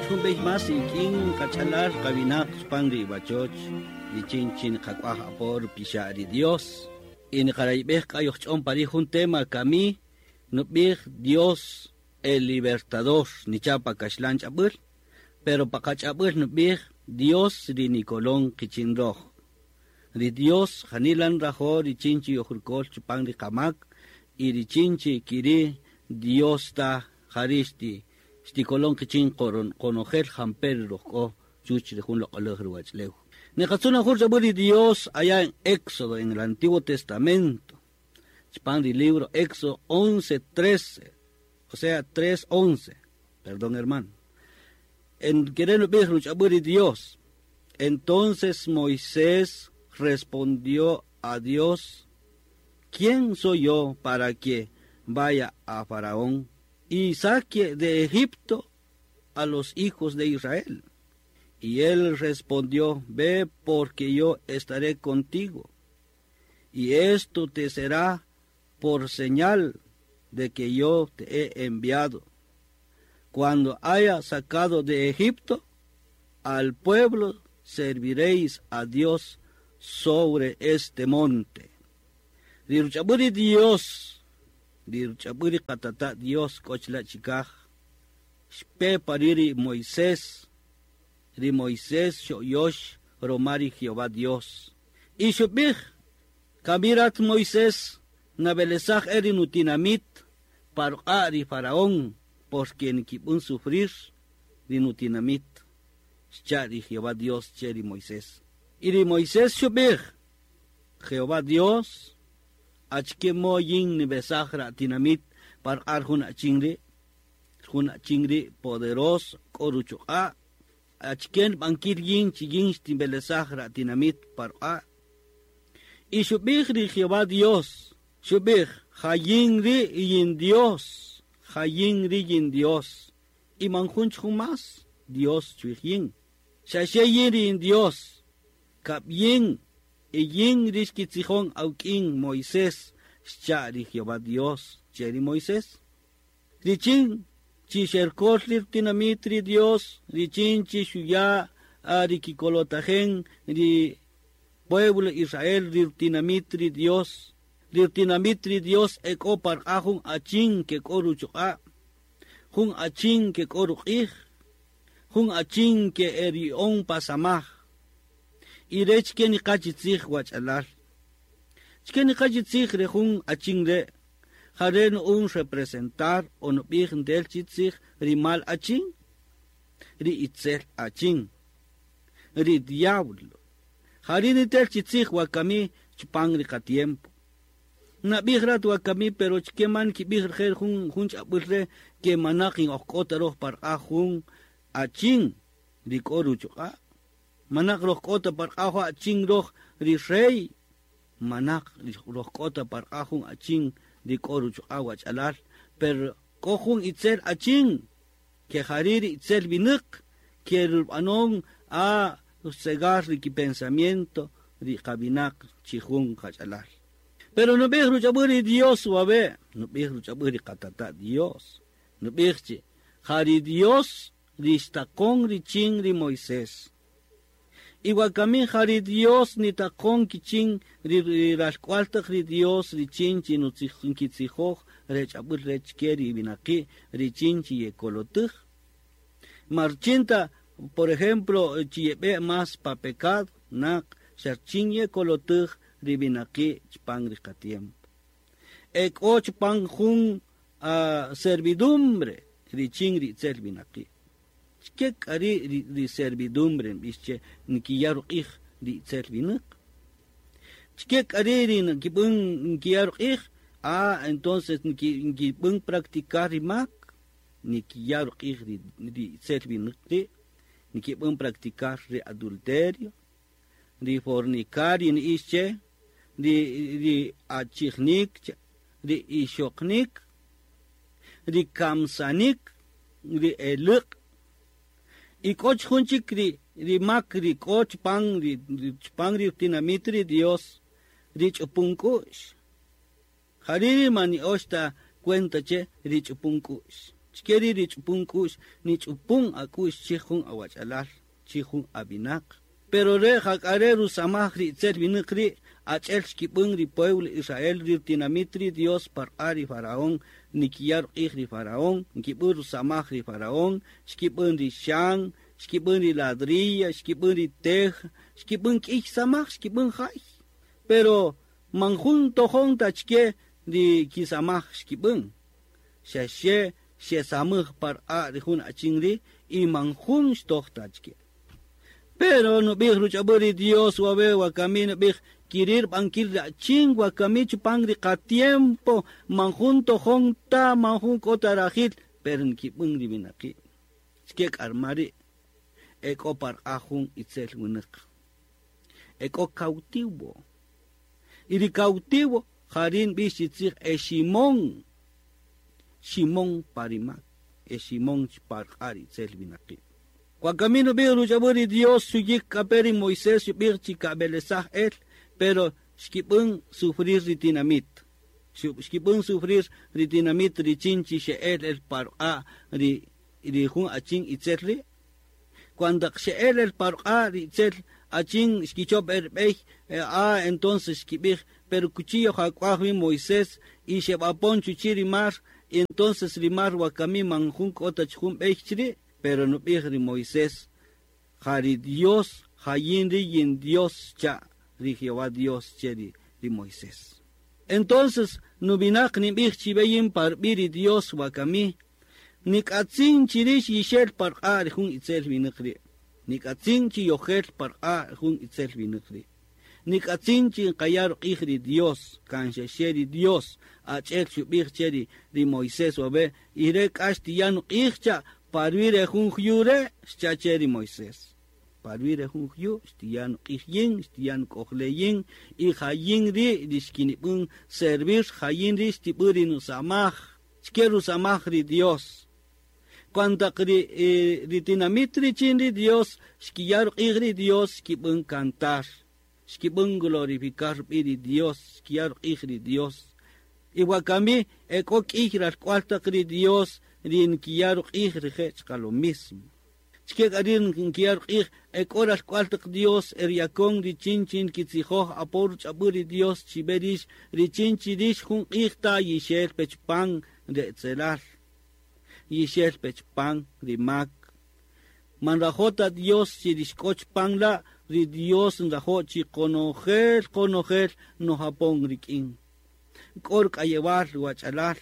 Jun bey mas ikin qach'alal qawinaq chpan ri wachoch richin chin qak'waj apo rupixa' ri Dios. Y niqarayb'ej k'ayojch'on pari jun tema kami nub'ij Dios el libertador nichapa kaxlan ch'ab'äl, pero pa qach'ab'äl nub'ij Dios ri nikolon qichin roj. Ri Dios janilan rajo richin chi yojrukol chupan ri qamak y richin chi kiri Dios ta jarixti xtikolon qichin qonojel jamper rojk'o chuch ri jun loq'olaj ruwach'lew. Niqatzuna jun ch'ab'äl ri Dios allá en Éxodo, en el Antiguo Testamento. Chpan ri libro Éxodo 11:13, o sea 3:11, perdón hermano. En querer nub'ij ruch'ab'äl ri Dios. Entonces Moisés respondió a Dios: ¿Quién soy yo para que vaya a Faraón y saque de Egipto a los hijos de Israel? Y él respondió: Ve, porque yo estaré contigo, y esto te será por señal de que yo te he enviado. Cuando haya sacado de Egipto al pueblo, serviréis a Dios sobre este monte. Ri ruch'ab'äl Dios, ri ruch'ab'äl qatata' Dios k'ochla chikaj, xpe pariri Moisés, ri Moisés xoyox romari Jehová Dios. Y xub'ij, kamirat Moisés, nabelesaj eri nutinamit, parqa ri Faraón, porque nikib'un sufrir ri nutinamit. Xcha ri Jehová Dios che ri Moisés. Y ri Moisés xub'ij, Jehová Dios, achke moyin nibesaj ra tinamit parqar jun achinri, jun achinri poderoso, k'oruchuq'a, achken bankir yin chiyin xtimbelesaj ra tinamit parqa. Y xub'ij ri Jehová Dios, xub'ij, jayin ri yin Dios, jayin ri yin Dios, y manjunch jun mas, Dios chuij yin. Xaxe yin ri yin Dios, kab yin, y yin rixkitzijon awk'in Moisés, xcha ri Jehová Dios, che ri Moisés. Richin chi xerkol ri tinamit ri Dios, richin chi xuya ri kikolotajen ri pueblo Israel ri tinamit ri Dios, ri tinamit ri Dios ek'o parqa jun achin ke k'o ruchuq'a, jun achin ke k'o ruq'ij, jun achin ke eri'on pasamaj. Y rech ke niqachi tzij wach'alal. Chke niqachi tzij re jun achin re, jare un representar o nub'ij ntel chi tzij ri mal achin, ri itzel achin, ri diablo. Jare nitel chi tzij wakami chpan ri qatiempo. Nab'ij rat wakami pero chke man kib'ij rjer jun jun ch'ab'äl re ke manaq in ojk'ota roj parqa jun achin ri k'o ruchuq'a'. Manaq roj k'ota parqa jun achin roj ri rey, manaq roj k'ota parqa jun achin ri k'o ruchuq'a' wach'alal, pero k'o jun itzel achin ke jari ri itzel winäq ke rub'anon a cegar ri kipensamiento ri qawinaq chi jun qach'alal. Pero nub'ij ruch'ab'äl ri Dios wawe', nub'ij ruch'ab'äl ri qatata' Dios, nub'ij chi jari Dios ri xtaqon richin ri Moisés. Y wakami jari Dios nitaqon kichin ri ralk'wal taq ri Dios richin chi nkitzijoj rech'ab'äl rech ke ri winaqi' richin chi yekolotej. Marchinta, por ejemplo, chi yeb'e más pa pecado, naq xarchin yekolotej ri winaqi' chpan ri qatiempo. Ek'o chpan jun servidumbre richin ri itzel winaqi'. Chke k'a ri servidumbre nb'ix che nkiya' ruq'ij ri itzel winäq. Chke k'a ri nkib'än nkiya' ruq'ij, entonces nkib'än practicar ri mak, nikiya' ruq'ij ri itzel winäq ri', nkib'än practicar ri adulterio, ri fornicario ni'ix che, ri achijnik, ri ixoqnik, ri kamsanik, ri elëq'. Y k'o jun chik ri mak ri k'o chpan ri tinamit ri Dios ri ch'upun k'u'x. Jari ri man ni'ox ta cuenta che ri ch'upun k'u'x. Chkeri ri ch'upun k'u'x nich'upun ak'u'x chij jun awach'alal chij jun awinaq. Pero re jak'are rusamaj ri itzel winäq ri' ach'el xkib'än ri pueblo Israel ri tinamit ri Dios parq'a ri faraón nikiya' ruq'ij ri faraón nkib'än rusamaj ri faraón xkib'än ri xan xkib'än ri ladrilla xkib'än ri tej xkib'än k'iy samaj xkib'än jay. Pero man jun tojon ta chke ri kisamaj xkib'än. Xa xe xesamaj parq'a ri jun achin ri' y man jun xtoj ta chke. Pero nub'ij ruch'ab'äl ri Dios wawe wakami nub'ij kirir b'ankil ri achin wakami chupan ri qatiempo man jun tojon ta man jun k'o ta rajil pero nkib'än ri winaqi'. Chke k'arma ri' e k'o parq'a jun itzel winäq. E k'o cautivo. Y ri cautivo jari' nb'ix chi tzij e Ximón. Ximón parimak. E Ximón parq'a ri itzel winaqi'. Wakami nub'ij ruch'ab'äl ri Dios xuyik k'ape ri Moisés xub'ij chi kab'elesaj el, pero xkib'än sufrir ri tinamit. Xkib'än sufrir ri tinamit richin chi xe'el el parq'a ri jun achin itzel ri'. Cuando xe'el el parq'a ri itzel achin xkichop el b'ey, entonces xkib'ij, pero cuchillo jak'uaj wi Moisés y xeb'apon chuchi ri mar, y entonces ri mar wakami man jun k'o ta jun b'ey chri'. Pero nub'ij ri Moisés, jari Dios, jayin ri yin Dios cha, ri Jehová Dios che ri Moisés. Entonces, nubinaq nib'ij chibeyin parb'i ri Dios wakami, nik'atzin chirix yixel parq'a ri jun itzel winäq ri'. Nik'atzin chi yojel parq'a jun itzel winäq ri'. Nik'atzin chi nqaya' ruq'ij ri Dios, kan xexe ri Dios, ach'el xub'ij che ri Moisés wawe, y re k'ax tiya' nuq'ij cha, parwire jun jyure, xchache ri Moisés. Parwire jun jyu, xtiyan q'ij yin, xtiyan k'ojle yin, y jayin ri rixkinib'än servir, jayin ri xtib'än ri nusamaj, xke rusamaj ri Dios. Cuando ri tinamit richin ri Dios, xkiyar q'ij ri Dios, xkib'än cantar, xkib'än glorificar b'i ri Dios, xkiyar q'ij ri Dios. Y wakami ek'o k'iy ralk'wal taq ri Dios, ri nkiyar q'ij rije' chqa lo mismo. Chke k'a ri nkiyar q'ij ek'o ralk'wal taq Dios eryakon richin chin kitzijoj apor ch'ab'äl ri Dios chiberix richin chirix jun q'ij ta yixel pechpan de etzelal. Yixel pechpan ri mak. Man rajota Dios chirixk'och pan la ri Dios nrajo' chi konojel konojel no japon rik'in. K'or k'ayewal wach'alal,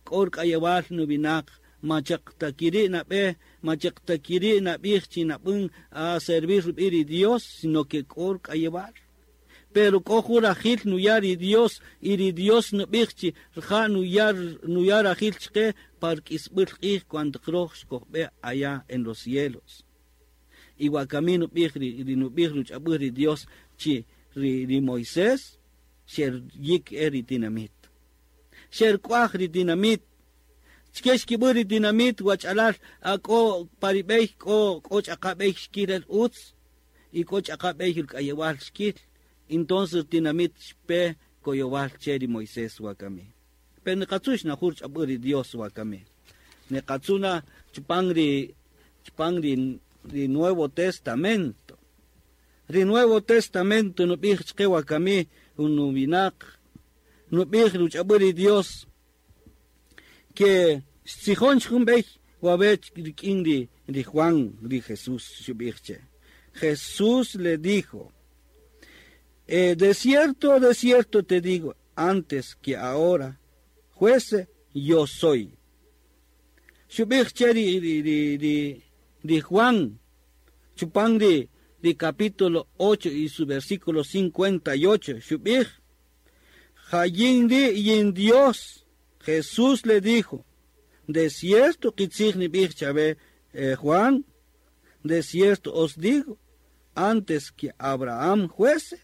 k'or k'ayewal nubinaq, machaqtakiri nab'e, machaqtakiri nab'ij chi nab'än a servir ri Dios, sino que k'or k'ayewal. Pero k'o jun rajil nuyar ri Dios, y ri Dios nub'ij chi rja' nuyar rajil chqe par k'isb'äl q'ij cuando qroj xkojb'e allá en los cielos. Y wakami nub'ij ri nub'ij ruch'ab'äl ri Dios chi ri Moisés xer yik ri tinamit. Xer k'uaj ri tinamit. Chke xkib'än ri tinamit wach'alal k'o parib'ey k'o ch'aqab'ey xkil el utz y k'o ch'aqab'ey rk'ayewal xkil. Entonces tinamit xpe koyowal che ri Moisés wakami. Pero niqatzu xnajur ch'ab'äl ri Dios wakami. Niqatzuna chupan ri Nuevo Testamento. Ri Nuevo Testamento nub'ij chqe wakami unubinaq nub'ij ruch'ab'äl ri Dios que xtzijon jun b'ey wawe rik'in ri Juan ri Jesús xub'ij che. Jesús le dijo, de cierto te digo, antes que ahora fuese yo soy. Xub'ij che ri Juan chupan ri capítulo 8 y su versículo 58, xub'ij, Jayin ri yin Dios. Jesús le dijo, de cierto qitzij nib'ij chawe Juan, de cierto os digo, antes que Abraham fuese,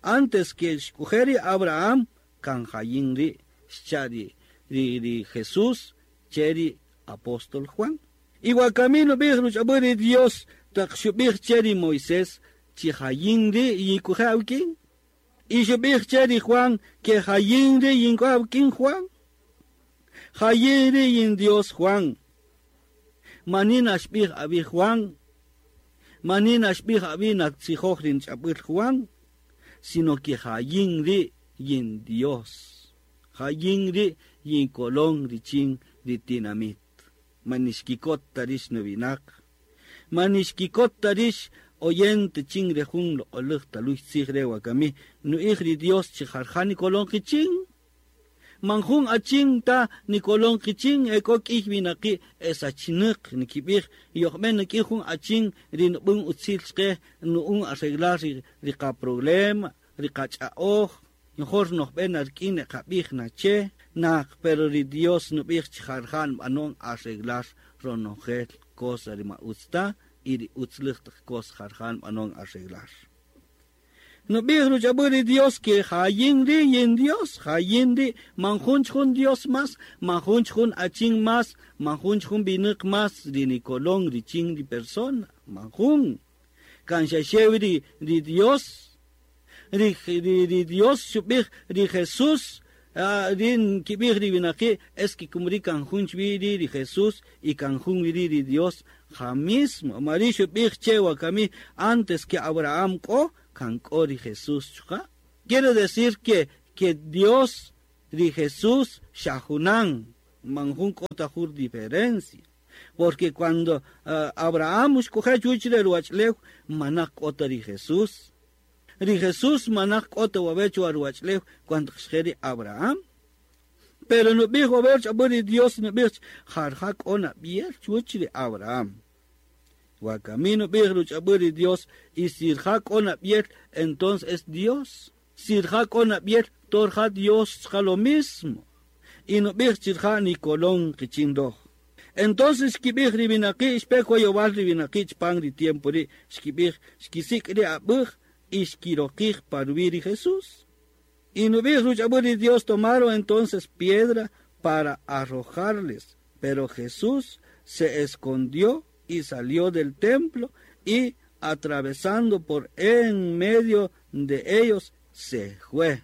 antes que xkujeri Abraham, kan jayin ri xcha ri Jesús che ri apóstol Juan. Y wakami nub'ij ruch'ab'äl ri Dios taq xub'ij che ri Moisés chi jayin ri yikuje awk'in. Y xub'ij che ri Juan que jayin ri yink'o awk'in Juan. Jayin ri yin Dios Juan. Manina xb'ij abi Juan, manina xb'ij abi natzijoj rin ch'ab'il Juan, sino que jayin ri yin Dios. Jayin ri yin kolon richin ri tinamit. Manixkikot tarish nubinak. Manixkikot tarish oyente chin rejun loq'olej taluy tzij re wakami. Nu'ij ri Dios chi jarja nikolon qichin. Manjun achin ta nikolon qichin eko k'ij winaqi esachinaq nikib'ij yojb'en nik'ij jun achin ri nub'un utzil chqe nu'un arreglar ri qaproblema ri qach'a'oj mejor nojb'en ark'in qab'ij nache naq pero ri Dios nub'ij chi jarja nb'anon arreglar ronojel cosa ri ma utz ta y ri utzlej taq cosa jarja nb'anon arreglar. Nub'ij ruch'ab'äl ri Dios que jayin ri yin Dios, jayin ri manjun jun Dios más, manjun jun achin más, manjun jun binaq más ri nikolon ri chin ri persona, manjun. Kan xaxew ri Dios, ri Dios xub'ij ri Jesús, rin kib'ij ri winaqi es que kumri kan jun chwi ri Jesús y kan jun ri ri Dios ja mismo. Mari xub'ij che wakami antes que Abraham k'o kan k'o ri Jesús chuqa. Quiere decir que Dios ri Jesús xajunan, manjun k'o ta jur diferencia. Porque cuando Abraham xk'oje chuwach re ruwach'lew manaq k'o ta ri Jesús. Ri Jesús manaq k'o ta wawe' chuwa ruwach'lew cuando xje ri Abraham. Pero nub'ij wawe' ch'ab'äl ri Dios nub'ij jarja k'o nab'yel chuwach ri Abraham. Wakami nub'ij ruch'ab'äl ri Dios y si rja k'o nab'yel entonces es Dios. Si rja k'o nab'yel torja Dios chqa lo mismo. Y nub'ij chirja nikolon qichin roj. Entonces xkib'ij ri winaqi' xpe koyowal ri winaqi' chpan ri tiempo ri' xkib'ij xkisik' ri ab'äj y xkiroqij parwi ri Jesús. Y nub'ij ruch'ab'äl ri Dios tomaron entonces piedra para arrojarles, pero Jesús se escondió y salió del templo y atravesando por en medio de ellos se fue.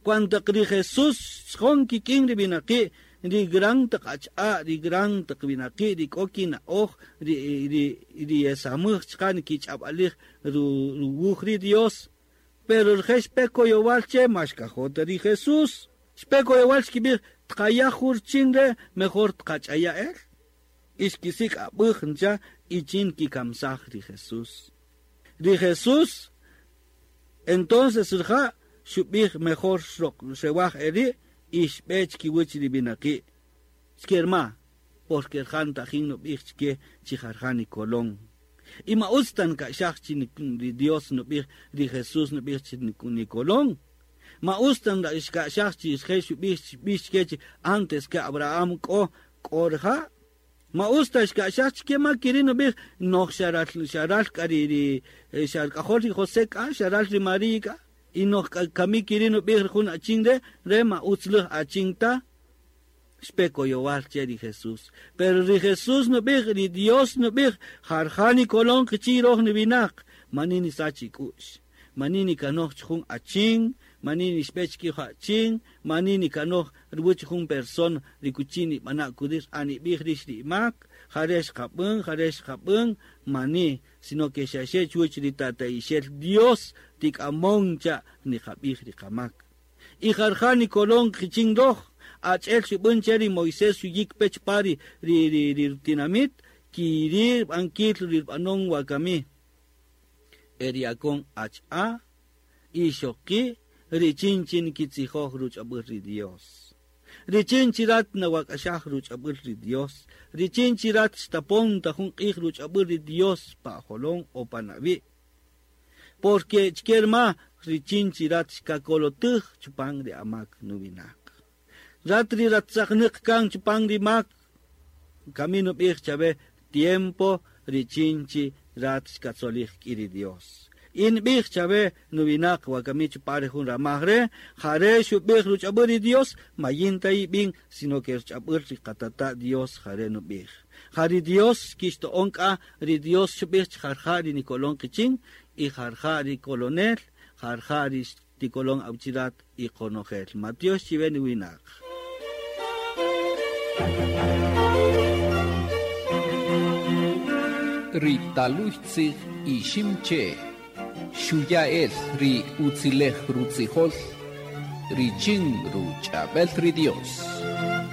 Cuando ri Jesús xjon kik'in ri winaqi' ri gran taq ach'a ri gran taq winaqi' ri k'o kina'oj ri esamäj chqa nikich'ab'alij ruwuj ri Dios. Pero rije' xpe koyowal che ma xkajota ri Jesús. Xpe koyowal xkib'ij tqaya jur chin re mejor tqach'aya el. Y xkisik' ab'äj ncha y chin kikamsaj ri Jesús. Ri Jesús entonces rija' xub'ij mejor xewaj eri' y xb'e chkiwach ri winaqi'. Xkerma, porque rija' ntajin nub'ij chke chi jarja nikolon. Y ma utz tan ka'xaj chi ri Dios nub'ij ri Jesús nub'ij chi nikolon. Ma utz tan xka'xaj chi rije' xub'ij b'ix chke chi antes que Abraham k'o k'o rija'. Ma utz ta xka'xaj chke ma kiri nub'ij noj xaral xaral k'a ri xark'ajol ri José k'a xaral ri María k'a. Y noj kami kiri nub'ij jun achin re re ma utzlej achin ta xpe koyowal che ri Jesús. Pero ri Jesús nub'ij ri Dios nub'ij jarja nikolon qichi roj niwinaq manini sach ik'u'x manini kanoj jun achin manini xb'e chkij achin manini kanoj ruwach jun persona ri kuchini b'ana' kudir anib'ij rix ri imak jare xqab'än jare xqab'än mani sino que xaxe chuwach ri tata'ixel Dios tik'amon cha niqab'ij ri qamak. Y jarja nikolon qichin roj ach'el xub'än che ri Moisés xuyik pech pa ri tinamit kiri b'ankil ri b'anon wakami. Eriakon ach'a ixoqi richin chin kitzijoj ruch'ab'äl ri Dios. Richin chirat nawak'axaj ruch'ab'äl ri Dios. Richin chirat xtapon ta jun q'ij ruch'ab'äl ri Dios pa jolon o pa nawi'. Porque chkerma richin chirat xkakolotüj chupan ri amak nuwinaq. Rat ri ratzaqnäq kan chupan ri mak camino b'ij chawe tiempo richin chi rat xkatzolij k'i ri Dios. In b'ij chawe nuwinaq wakami chupare jun ramaj re jare xub'ij ruch'ab'äl ri Dios mayin ta ib'in sino que ruch'ab'äl ri qatata Dios jare nub'ij. Ja ri Dios kixto'on k'a ri Dios xub'ij jarja ri nikolon qichin y jarja ri kolonel jarja ri tikolon awchirat y qonojel. Matiox chiwe nuwinaq. Ri taluy tzij Iximche' xuya' el ri utzilej rutzijol richin ruch'ab'el ri Dios.